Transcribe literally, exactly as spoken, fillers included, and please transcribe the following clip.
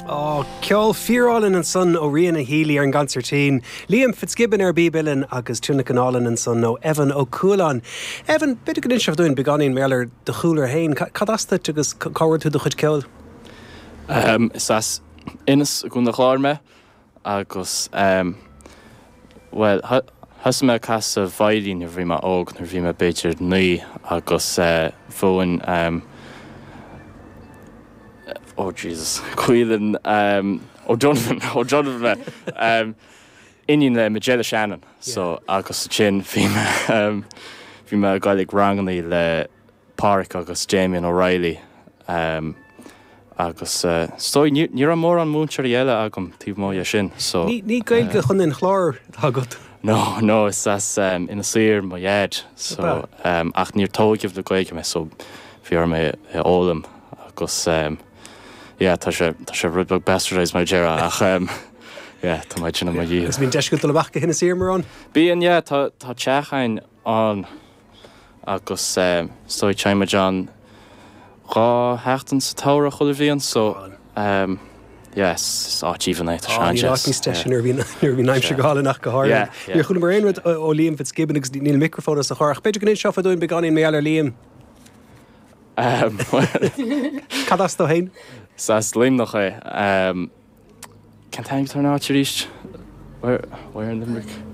Á ceol fíorálainn ansan ó Ríona Healy ar an gconsairtín, Liam Fitzgibbon ar bíb uilleann agus tionlacan álainn ansan ó Evan Ó Cualáin. Evan, b'fhéidir go n-inseofá dúinn beagáinín mar gheall ar do chúlra féin, cad as duit agus cá bhfuair tú do chuid ceoil? Um, is as Inis i gContae an Chláir mé agus um, well thosaigh mé ag casadh veidhlín nuair bhí mé óg nuair bhí mé b'fhéidir naoi agus uh, mhúin um, oh Jesus Caolan um, O'Donovan O'Donovan mé um, iníon le Majella Shannon so agus sin bhí mé um, bhí mé ag dul ag ranganna le Pádraig agus Damien O'Reilly um, agus uh, so ní ní raibh mórán múinteoirí eile agam taobh amuigh sin so Ní ní Gaeilge chun an Chláir agat. No, no, is as um, Inis Oírr mo dhaid so um, ach níor tógadh le Gaeilge mé so bhí orm é a fhoghlaim agus um, yeah, tá sé tá sé rud beag bastardized mar deir ach um, yeah, tá mé sin mar Agus bíonn deis agat dul amach go hInis Oírr mórán? Bíonn yeah, tá tá teach againn ann agus um, so téimid ann dhá sheachtain sa tsamhradh chuile bhliain so um, yes, is áit aoibhinn é tá sé Ní níos deise nuair a bhíonn aimsir go hálainn go háirithe. Níor chuala mé aon rud ó Liam Fitzgibbon agus níl microphone as a chur, b'fhéidir go n-inseofá dúinn beagáinín mar gheall ar Liam. Um, Cad as dó féin? Is as Luimneach é. Um, Cén t-ainm ar an áit arís? Where where in Limerick?